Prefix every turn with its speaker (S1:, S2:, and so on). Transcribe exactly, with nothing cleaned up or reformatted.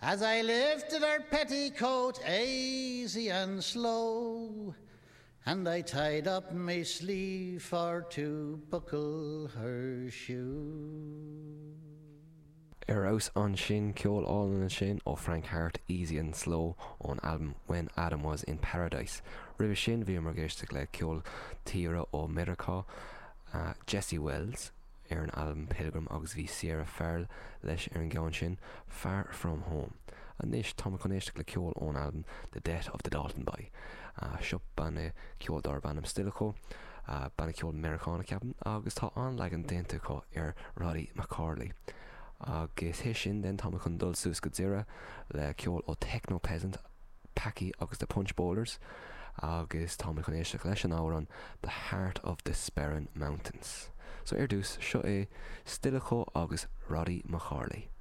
S1: As I lifted her petticoat aisy and slow, and I tied up me sleeve for to buckle her shoe.
S2: Ar fheabhas ansin ceol álainn ansin ó Frank Harte Easy and Slow ón albam When Adam Was in Paradise. Roimhe sin bhíomar ag éisteacht le ceol tíre ó Meiriceá uh, Jesse Wells ar an albam Pilgrim agus bhí Sierra Farrell leis ar an gceann sin Far From Home. Anois tá chun éisteacht le ceol ón albam The Death of the Dalton Boy. Uh, seo banna ceol darb ainm Stilicho, uh, banna ceol Meiriceánach ceapaim agus tá an-leagan déanta acu ar Roddy McCorley. Agus théis sin den tá chun dul suas go Doire le ceol ó Techno Peasant, Packy agus the Punch Bowlers, agus tá chun éisteacht leis an amhrán The Heart of the Sperrin Mountains. So ar dtús seo é Stilicho agus Roddy McCorley.